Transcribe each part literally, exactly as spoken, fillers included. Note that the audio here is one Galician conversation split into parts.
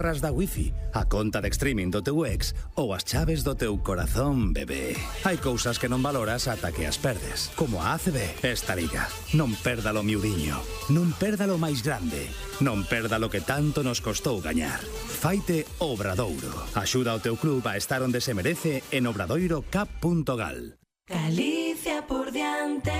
ras da wifi, a conta de streaming do teu ex ou as chaves do teu corazón, bebé. Hai cousas que non valoras ata que as perdes, como a A C B esta liga. Non perda lo miudiño, non perda lo máis grande, non perda lo que tanto nos costou gañar. Faite Obradoiro. Axuda ao teu club a estar onde se merece en obradoiro cap punto gal. Galicia por diante.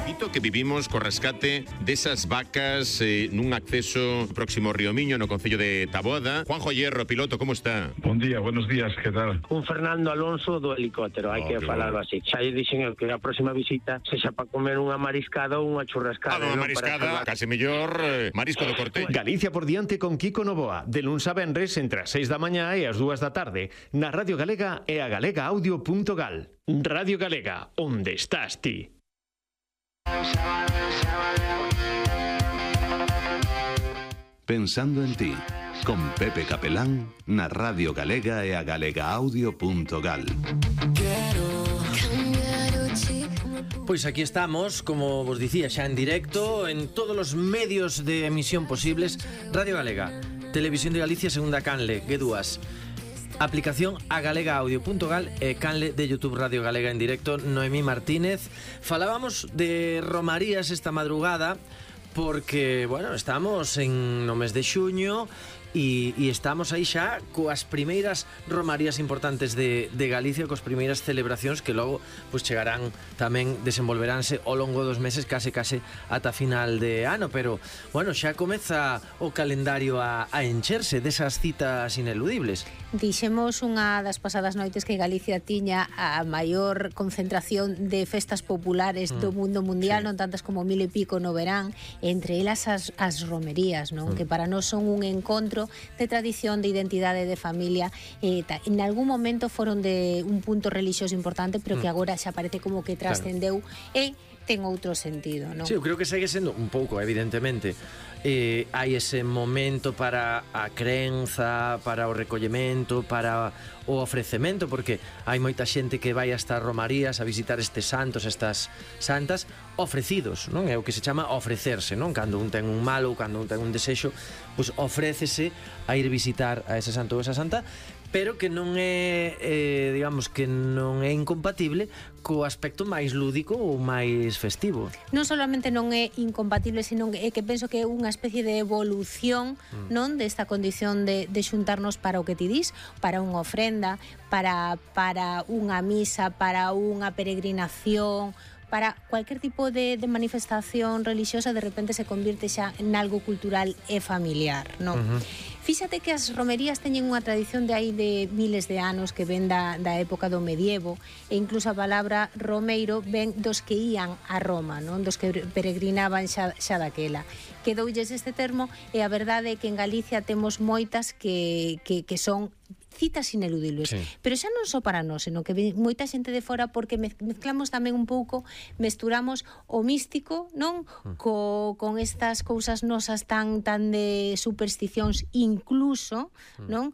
Dito que vivimos co rescate desas vacas eh, nun acceso próximo ao Río Miño no concello de Taboada. Juanjo Hierro, piloto, como está? Bon día, buenos días, que tal? Un Fernando Alonso do helicóptero, hai Oh, que falarlo así. Xa lle dixen eu que a próxima visita sexa para comer unha mariscada ou unha churrascada. Ah, unha non mariscada, para case mellor eh, marisco do corte. Galicia por diante con Kiko Novoa, de luns a venres entre as seis da mañá e as dúas da tarde, na Radio Galega e a galega audio punto gal. Radio Galega, onde estás ti? Pensando en ti, con Pepe Capelán, na Radio Galega e a galega audio punto gal. Pois aquí estamos, como vos dicía, xa en directo en todos os medios de emisión posibles. Radio Galega, Televisión de Galicia, segunda canle, G dúas, aplicación a galega audio punto gal e canle de YouTube Radio Galega en directo. Noemí Martínez. Falábamos de romarías esta madrugada porque, bueno, estamos en no mes de xuño e, e estamos aí xa coas primeiras romarías importantes de, de Galicia, coas primeiras celebracións que logo pues, chegarán tamén, desenvolveránse ao longo dos meses, case case ata final de ano, pero bueno, xa comeza o calendario a, a encherse desas citas ineludibles. Dixemos unha das pasadas noites que Galicia tiña a maior concentración de festas populares mm. do mundo mundial, sí. Non tantas como mil e pico no verán, entre elas as, as romerías, non? Mm. Que para nós son un encontro de tradición, de identidade, de familia. Eh, ta, en algún momento foron de un punto religioso importante, pero mm. que agora xa parece como que trascendeu, claro. E ten outro sentido, non? Sí, eu creo que segue sendo un pouco, evidentemente. Eh, hai ese momento para a crenza, para o recollemento, para o ofrecemento, porque hai moita xente que vai a estas romarías a visitar estes santos, estas santas, ofrecidos, non? É o que se chama ofrecerse, non? Cando un ten un mal ou cando un ten un desexo, pois ofrécese a ir visitar a ese santo ou esa santa, pero que non é, eh, digamos, que non é incompatible co aspecto máis lúdico ou máis festivo. Non solamente non é incompatible, sino é que penso que é unha especie de evolución, mm. non, desta condición de, de xuntarnos para o que ti dis, para unha ofrenda, para, para unha misa, para unha peregrinación, para cualquier tipo de, de manifestación religiosa, de repente se convirte xa en algo cultural e familiar, non? Uh-huh. Fíxate que as romerías teñen unha tradición de aí de miles de anos que ven da, da época do medievo, e incluso a palabra romeiro ven dos que ían a Roma, non? Dos que peregrinaban xa, xa daquela. Quedoulles este termo, e a verdade é que en Galicia temos moitas que, que, que son citas ineludibles, sí. Pero xa non só para nós, senón que moita xente de fora, porque mezclamos tamén un pouco, mesturamos o místico, non? Mm. Co, con estas cousas nosas tan tan de supersticións, incluso, mm. non?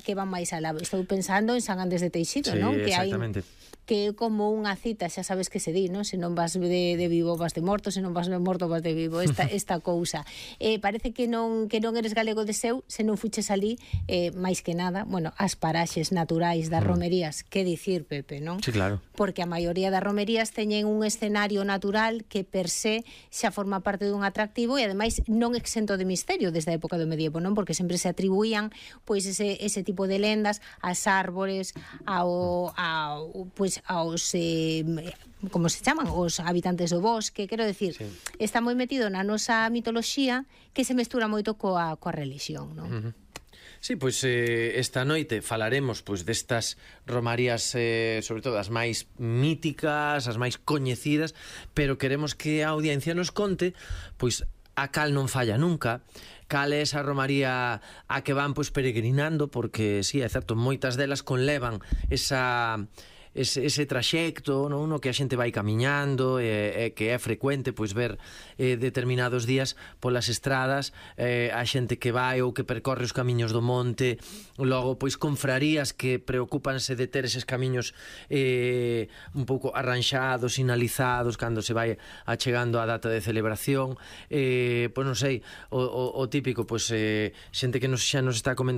Que van máis alá. Estou pensando en San Andrés de Teixido, sí, non? Que exactamente. Hai que é como unha cita, xa sabes que se di, non? Se non vas de, de vivo vas de morto, se non vas de morto vas de vivo, esta, esta cousa. Eh, parece que non que non eres galego de seu, se non fuches ali, eh, máis que nada, bueno, as paraxes naturais das romerías, que dicir, Pepe, non? Sí, claro. Porque a maioría das romerías teñen un escenario natural que per se xa forma parte dun atractivo, e ademais non exento de misterio desde a época do medievo, non? Porque sempre se atribuían pois ese, ese tipo de lendas ás árbores, ao, ao pois aos eh, como se chaman, os habitantes do bosque, quero decir, sí. Está moi metido na nosa mitoloxía, que se mestura moito coa, coa religión, non? Uh-huh. Sí, pois eh, esta noite falaremos pois destas romarías, eh, sobre todo as máis míticas, as máis coñecidas, pero queremos que a audiencia nos conte pois a cal non falla nunca, cal é esa romaría a que van pois peregrinando, porque si, sí, é certo, moitas delas conlevan esa ese, ese traxecto, non? No que a xente vai camiñando e, e que é frecuente pois ver eh, determinados días polas estradas eh, a xente que vai ou que percorre os camiños do monte, logo pois confrarías que preocúpanse de ter eses camiños eh, un pouco arranxados, sinalizados cando se vai achegando a data de celebración, eh, pois non sei, o, o, o típico, pois eh, xente que nos, xa nos está comentando